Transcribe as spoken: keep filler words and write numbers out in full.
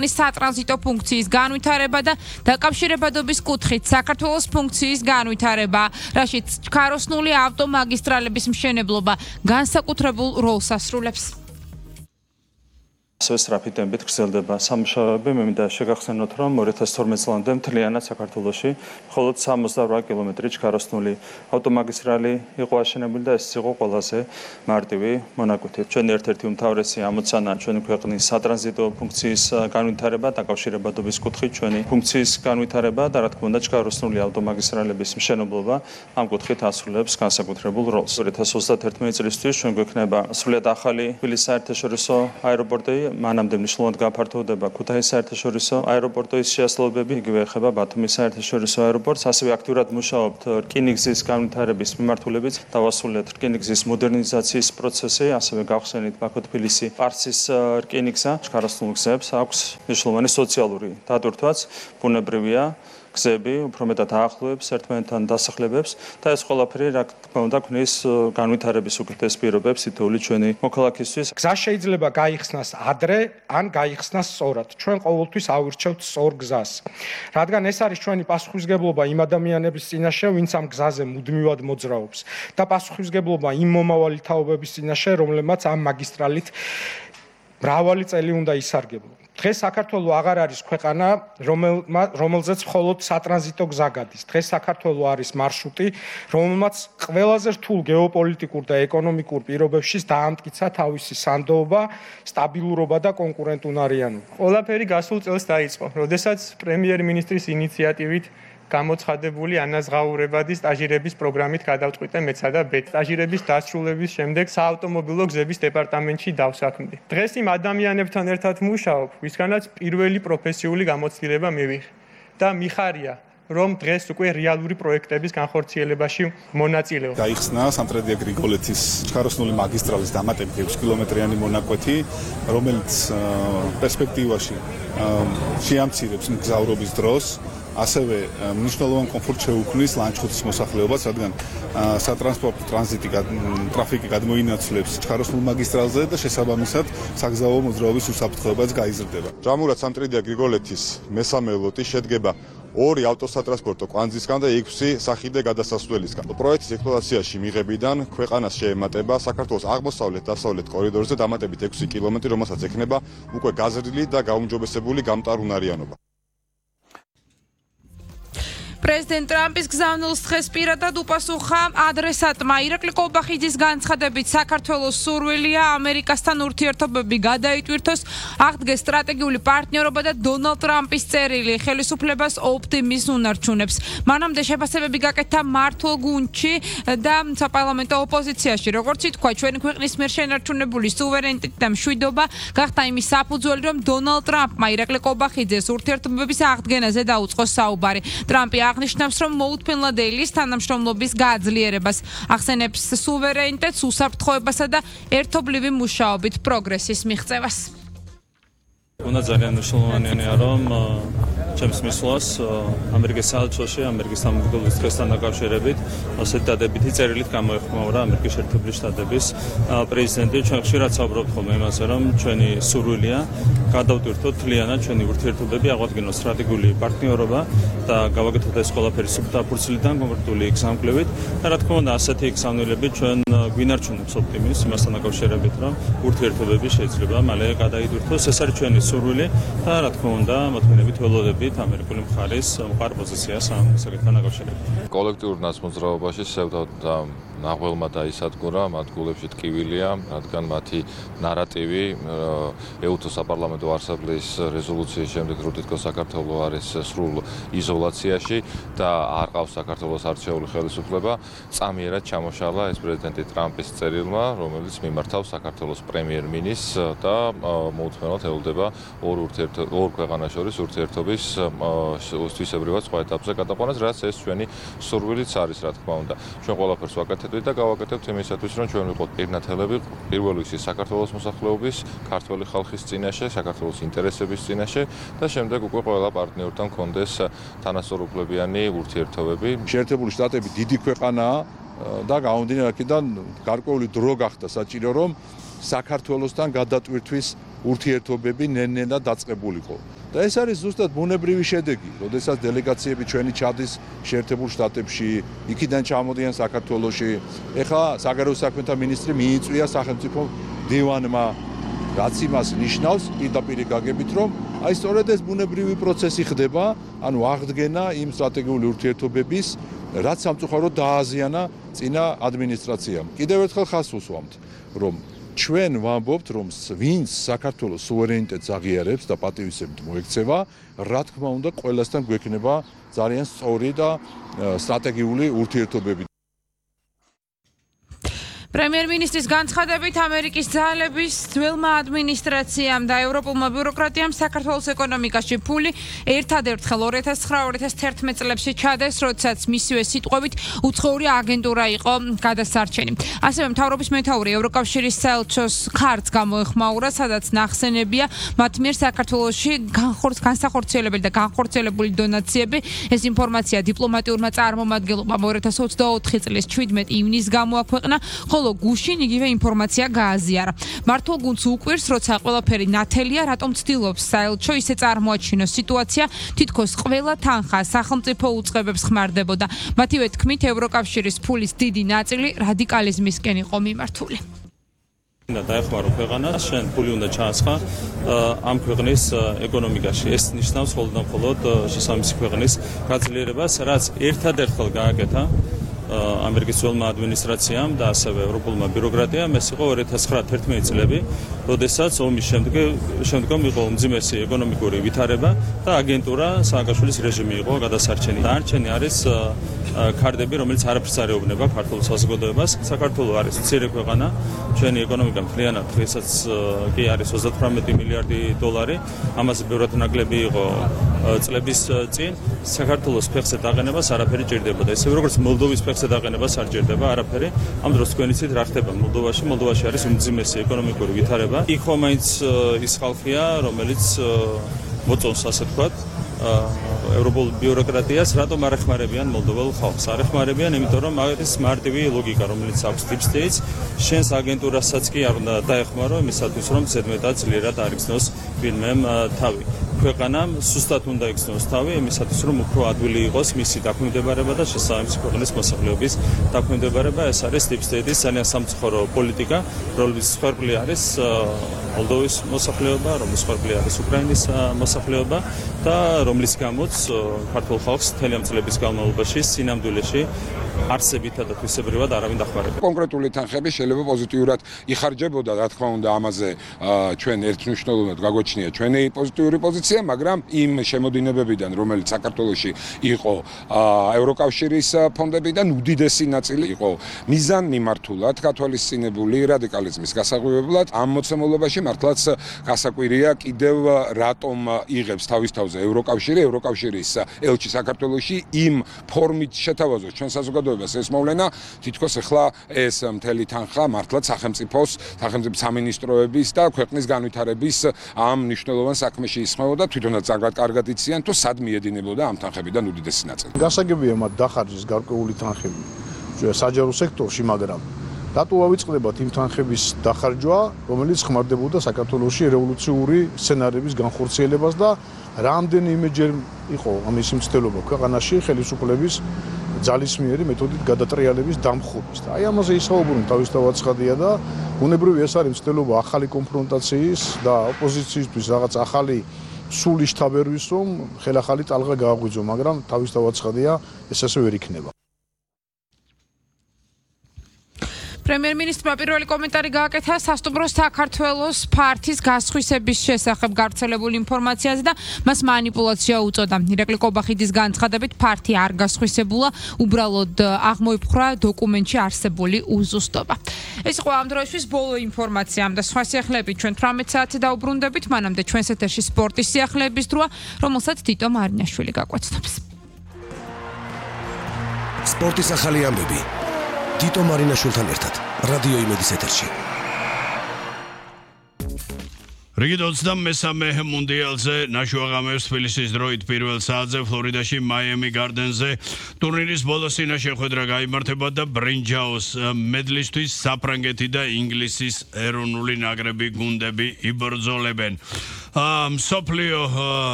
სატრანზიტო ფუნქციის განვითარება და დაკავშირებადობის კუთხით საქართველოს ფუნქციის განვითარება, რაშიც ჩქაროსნული ავტომაგისტრალების მშენებლობა განსაკუთრებულ როლს ასრულებს. ასევე სწრაფი ტემპით გრძელდება სამუშაოები, მე მინდა შეგახსენოთ, რომ ორი ათას თორმეტ წლამდე მთლიანად საქართველოში მხოლოდ სამოცდაორ კილომეტრი ჩქაროსნული ავტომაგისტრალი იყო აშენებული და ეს იყო ყველაზე მარტივი მონაკვეთი. ჩვენი ერთ-ერთი უმთავრესი ამოცანა ჩვენი ქვეყნის სატრანზიტო ფუნქციის განვითარება, დაკავშირებადობის კუთხით ჩვენი ფუნქციის განვითარება და რა თქმა უნდა ჩქაროსნული ავტომაგისტრალების მშენებლობა ამ კუთხით ასრულებს განსაკუთრებულ როლს. ორი ათას ოცდაათერთმეტი წლისთვის ჩვენ გვექნება სრულიად ახალი თბილისის საერთაშორისო აეროპორტი, მანამდე მნიშვნელოვნად გაფართოვდება ქუთაისის საერთაშორისო აეროპორტის შეასრულებები, იგივე ეხება ბათუმის საერთაშორისო აეროპორტს, ასევე აქტიურად მუშაობთ რკინიგზის განვითარების მიმართულებით, დავასრულეთ რკინიგზის მოდერნიზაციის პროცესი, ასევე გავხსენით ბაქო-თბილისი პარსის რკინიგზა, ჩქაროსნულ გზებს აქვს მნიშვნელოვანი სოციალური დატვირთვაც, ბუნებრივია გზები უფრო მეტად აახლოებს ერთმანეთთან დასახლებებს და ეს ყველაფერი რა თქმა უნდა ქმნის განვითარების უკეთეს პირობებს თითოეული ჩვენი მოქალაქისთვის. გზა შეიძლება გაიხსნას ადრე ან გაიხსნას სწორად. ჩვენ ყოველთვის ავირჩევთ სწორ გზას. რადგან ეს არის ჩვენი პასუხისმგებლობა იმ ადამიანების წინაშე, ვინც ამ გზაზე მუდმივად მოძრაობს და პასუხისმგებლობა იმ მომავალი თაობების წინაშე, რომლებმაც ამ მაგისტრალით მრავალი წელი უნდა ისარგებლონ. დღეს საქართველო აღარ არის ქვეყანა, რომელზეც მხოლოდ სატრანზიტო გზა გადის. დღეს საქართველო არის მარშრუტი, რომელმაც ყველაზე რთულ გეოპოლიტიკურ და ეკონომიკურ პირობებში დაამტკიცა თავისი სანდოობა, სტაბილურობა და კონკურენტუნარიანობა. ყველაფერი გასულ წელს დაიწყო, როდესაც პრემიერ-მინისტრის ინიციატივით გამოცხადებული ანაზღაურებადი სტაჟირების პროგრამით გადავწყვიტე მეცსა და ბეთ. სტაჟირების დასრულების შემდეგ საავტომობილო გზების დეპარტამენტში დავსაქმდი. დღეს იმ ადამიანებთან ერთად მუშაობ, ვისგანაც პირველი პროფესიული გამოცდილება მივიღე და მიხარია, რომ დღეს უკვე რეალური პროექტების განხორციელებაში მონაწილეობ. გაიხსნა სამტრედია გრიგოლეთის ჩქაროსნული მაგისტრალის დამატებით ექვსი კილომეტრიანი მონაკვეთი, რომელიც პერსპექტივაში შეამცირებს მგზავრობის დროს. ასევე მნიშვნელოვან კომფორტს შეუქმნის ლანჩხუთის მოსახლეობას, რადგან სატრანსპორტო ტრანზიტი ტრაფიკი გადმოინაცვლებს ჩქაროსნულ მაგისტრალზე და შესაბამისად საგზაო მოძრაობის უსაფრთხოებაც გაიზრდება. ჯამურად სამტრედია გრიგოლეთის მესამე ლოტი შედგება ორი ავტოსატრანსპორტო კვანძისგან და ექვსი სახიდე გადასასვლელისგან. პროექტის ექსპლუატაციაში მიღებიდან ქვეყანას შეემატება საქართველოს აღმოსავლეთ-დასავლეთ კორიდორზე დამატებით ექვსი კილომეტრი, რომელსაც ექნება უკვე გაზრდილი და გაუმჯობესებული გამტარუნარიანობა. პრეზიდენტ ტრამპის გზავნილს დღეს პირადად უპასუხა ადრესატმა. ირაკლი კოლბახიძის განცხადებით საქართველოს სურვილია ამერიკასთან ურთიერთობები გადაიტვირთოს, აღდგეს სტრატეგიული პარტნიორობა და დონალდ ტრამპის წერილი ხელისუფლებას ოპტიმიზმს უნარჩუნებს. მანამდე შეფასებები გაკეთდა მართლ გუნდში და საპარლამენტო ოპოზიციაში. როგორც ითქვა, ჩვენი ქვეყნის მიერ შენარჩუნებული სუვერენიტეტი და მშვიდობა გახდა იმის საფუძველი, რომ დონალდ ტრამპმა ირაკლი კოლბახიძეს ურთიერთობების აღდგენაზე დაუწყოს საუბარი. ტრამპი აღნიშნავს, რომ მოუთმენლად ელის თანამშრომლობის გაძლიერებას, ახსენებს სუვერენიტეტს, უსაფრთხოებასა და ერთობლივი მუშაობით პროგრესის მიღწევას. უნდა ძალიან მნიშვნელოვანია, რომ ჩემს მისვლას ამერიკის საელჩოში, ამერიკის სამმართველობის დღესთან დაკავშირებით ასეთ დადებითი წერილით გამოეხმაურა ამერიკის შეერთებული შტატების პრეზიდენტი. ჩვენ ხშირად საუბრობთ ხოლმე იმაზე, რომ ჩვენი სურვილია გადავტვირთოთ მთლიანად ჩვენი ურთიერთობები, აღვადგინოთ სტრატეგიული პარტნიორობა და გავაკეთოთ ეს ყველაფერი სუფთა-ფურცლიდან კონკრეტული გზამკვლევით და რა თქმა უნდა ასეთი გზავნილები ჩვენ გვინარჩუნებს ოპტიმიზმს იმასთან დაკავშირებით, რომ ურთიერთობები შეიძლება მალე გადაიტვირთოს. ეს არის ჩვენი სურვილი და რა თქმა უნდა მოთმინებით ველოდებით ამერიკული მხარის მყარ პოზიციას ამ საკითხთან დაკავშირებით. კოლექტიურ ნაცმოძრაობაში სევდა და ნაღველმა დაისადგურა, მათ გულებში ტკივილია, რადგან მათი ნარატივი ეუთო საპარლამენტო ასამბლეის რეზოლუციის შემდეგ, რომ თითქოს საქართველო არის სრულ იზოლაციაში და არ ყავს საქართველოს არჩეული ხელისუფლება, წამიერად ჩამოშალა ეს პრეზიდენტი ტრამპის წერილმა, რომელიც მიმართავს საქართველოს პრემიერ-მინისტრს და მოუთმენლად ელოდება ორ ურთიერთ ორ ქვეყანას შორის ურთიერთობის თვისებრივად სხვა ეტაპზე გადაყვანას, რაც ეს ჩვენი სურვილიც არის, რა თქმა უნდა. ჩვენ ყველაფერს ვაკეთებთ და გავაკეთებთ იმისათვის, რომ ჩვენ ვიყოთ პირნათელები პირველ რიგში საქართველოს მოსახლეობის, ქართველი ხალხის წინაშე, საქართველოს ინტერესების წინაშე და შემდეგ უკვე ყველა პარტნიორთან კონდეს თანასწორუფლებიანი ურთიერთობები. შეერთებული შტატები დიდი ქვეყანაა და გამომდინარე აქედან გარკვეული დრო გახდა საჭირო, რომ საქართველოსთან გადატვირთვის ურთიერთობები ნელ-ნელა დაწყებულიყო. და ეს არის ზუსტად ბუნებრივი შედეგი, როდესაც დელეგაციები ჩვენი ჩადის შეერთებულ შტატებში, იქიდან ჩამოდიან საქართველოში. ეხლა საგარეო საქმეთა მინისტრი მიიწვია სახელმწიფო დივანმა, რაც იმას ნიშნავს პირდაპირ გაგებით, რომ აი სწორედ ეს ბუნებრივი პროცესი ხდება, ანუ აღდგენა იმ სტრატეგიული ურთიერთობების, რაც სამწუხაროდ დააზიანა წინა ადმინისტრაციამ. კიდევ ერთხელ ხაზს უსვამთ, რომ ჩვენ ვამბობთ, რომ ვინც საქართველოს სუვერენიტეტს აღიარებს და პატივისცემით მოექცევა, რა თქმა უნდა, ყველასთან გვექნება ძალიან სწორი და სტრატეგიული ურთიერთობები. პრემიერ-მინისტრის განცხადებით ამერიკის ძალების ძველმა ადმინისტრაციამ და ევროპულმა ბიუროკრატიამ საქართველოს ეკონომიკაში ფული ერთადერთხელ ორი ათას ცხრა ორი ათას თერთმეტ წლებში ჩადეს, როდესაც მისივე სიტყვებით უცხოური აგენტურა იყო გადასარჩენი. ასევე მთავრობის მეთაური ევროკავშირის საელჩოს ქართს გამოეხმაურა, სადაც ნახსენებია მათ მიერ საქართველოში განსახორციელებელი და განხორციელებული დონაციები. ეს ინფორმაცია დიპლომატიურმა წარმომადგენლობამ ორი ათას ოცდაოთხი წლის ჩვიდმეტ ივნისს გამოაქვეყნა, ხოლო გუშინ იგივე ინფორმაცია გააზიარა. მართულ გუნდს უკვირს, როცა ყველაფერი ნათელია, რატომ ცდილობს საელჩო ისე წარმოაჩინოს სიტუაცია, თითქოს ყველა თანხა სახელმწიფო უწყებებს ხმარდებოდა. მათივე თქმით, ევროკავშირის ფულის დიდი ნაწილი რადიკალიზმისკენ იყო მიმართული. და დაეხმარო ქვეყანას, შენ ფული უნდა ჩაასხა ამ ქვეყნის ეკონომიკაში. ეს ნიშნავს მხოლოდ და მხოლოდ შესაბამისი ქვეყნის გაძლიერებას, რაც ერთადერთხელ გააკეთა ამერიკის ძველმა ადმინისტრაციამ და ასევე ევროპულმა ბიუროკრატიამ. ეს იყო ორი ათას ცხრა თერთმეტი წლები, როდესაც ომის შემდგომ იყო უმძიმესი ეკონომიკური ვითარება და აგენტურა სააკაშვილის რეჟიმი იყო გადასარჩენი. დანარჩენი არის ქარდები, რომელიც არაფერს არ ეუბნება ქართულ საზოგადოებას. საქართველო არის მცირე ქვეყანა, ჩვენი ეკონომიკა მთლიანად დღესაც კი არის ოცდათვრამეტი მილიარდი დოლარი, ამაზე ბევრად ნაკლები იყო წლების წინ. საქართველოს ფეხზე დაყენებას არაფერი ჭირდებოდა. ისე როგორც მოლდოვის ფეხზე დაყენებას არ ჭირდება არაფერი. ამ დროს თქვენ იცით რა ხდება მოლდოვაში. მოლდოვაში არის უმძიმესი ეკონომიკური ვითარება. იქ ხომ მაინც ის ხალხია, რომელიც მოწონს ასე ვთქვათ ევროპულ ბიუროკრატიას, რატომ არ ეხმარებიან მოლდოვალ ხალხს? არ ეხმარებიან, იმიტომ რომ არის მარტივი ლოგიკა, რომელიც აქვს deep state-ს, შენს აგენტურასაც კი არ უნდა დაეხმარო იმისათვის, რომ ზედმეტად ძლიერად არიგზნოს ვინმემ თავი. ქვეყანამ სუსტად უნდა იგრძნოს თავი იმისათვის, რომ უფრო ადვილი იყოს მისი დაქვემდებარება და შესაბამისი ქვეყნის მოსახლეობის დაქვემდებარება. ეს არის deep state-ის ძალიან სამწუხარო პოლიტიკა, რომლის მსხვერპლი არის მოლდოვის მოსახლეობა, რომლის მსხვერპლი არის უკრაინის მოსახლეობა და რომლის გამოც ქართულ ხალხს მთელი ამ წლების განმავლობაში სინამდვილეში არსებითა და თვისებრივად არავინ დახმარება. კონკრეტული თანხები შეიძლება პოზიტიურად იხარჯებოდა, რა თქმა უნდა, ამაზე ჩვენ ერთმნიშვნელოვნად გაგვაჩნია ჩვენი პოზიტიური პოზიცია, მაგრამ იმ შემოდინებებიდან, რომელიც საქართველოში იყო ევროკავშირის ფონდებიდან, უდიდესი ნაწილი იყო მიზანმიმართულად გათვალისწინებული რადიკალიზმის გასაღვივებლად. ამ მოცემულობაში მართლაც გასაკვირია კიდევ რატომ იღებს თავის თავზე ევროკავშირი, ევროკავშირის ელჩი საქართველოში იმ ფორმით შეთავაზოს ჩვენ საზოგადოებას ეს მოვლენა, თითქოს ახლა ეს მთელი თანხა მართლაც სახელმწიფოს, სახელმწიფო სამინისტროების და ქვეყნის განვითარების ამ მნიშვნელოვან საქმეში ისხმებოდა, თვითონაც ძალიან კარგად იციან, თუ სად მიედინებოდა ამ თანხებიდან უდიდესი ნაწილი. გასაგებია მათ დახარჯის გარკვეული თანხები საჯარო სექტორში, მაგრამ რატო ავიწყდებათ იმ თანხების დახარჯვა, რომელიც ხმარდებოდა საქართველოში რევოლუციური სცენარების განხორციელებას და რამდენიმეჯერ იყო ამის მცდელობა ქვეყანაში ხელისუფლების ძალისმიერი მეთოდით გადატრიალების დამხობის. და აი ამაზე ისაუბრონ თავისთავად ცხადია და ბუნებრივია ეს არის მცდელობა ახალი კონფრონტაციის და ოპოზიციისთვის რაღაც ახალი სული შთაბერვის, რომ ხელახალი ტალღა გააღვიძო, მაგრამ თავისთავად ცხადია ეს ასე ვერ იქნება. პრემიერ-მინისტრმა პირველი კომენტარი გააკეთა სასტუმრო საქართველოს ფართის გასხვისების შესახებ გავრცელებული ინფორმაციაზე და მას манипуляცია უწოდა. ირაკლი კობახიძის განცხადებით ფართი არ გასხვისებულა, უბრალოდ აღმოიფხვრა დოკუმენტში არსებული უზუსტობა. ეს იყო ამ დროისთვის ბოლო ინფორმაცია და სხვა სიახლეებით ჩვენ თვრამეტ საათზე დაუბრუნდებით, მანამდე ჩვენს ეთერში სპორტის სიახლეების დროა, რომელსაც თიტო მარინაშვილი გაკვეთნობს. სპორტის ახალი ამბები თიტო მარინაშვილთან ერთად რადიო იმედის ეთერში. რიგით ოცდამესამე მუნდიალზე ნაშუაღამებს თბილისის დროით პირველ საათზე ფლორიდაში მაიამი გარდენზე ტურნირის ბოლო სინა შეხვედრა გაიმართება და ბრინჯაოს მედლისთვის საფრანგეთი და ინგლისის ეროვნული ნაკრები გუნდები იბრძოლებენ. მსოფლიო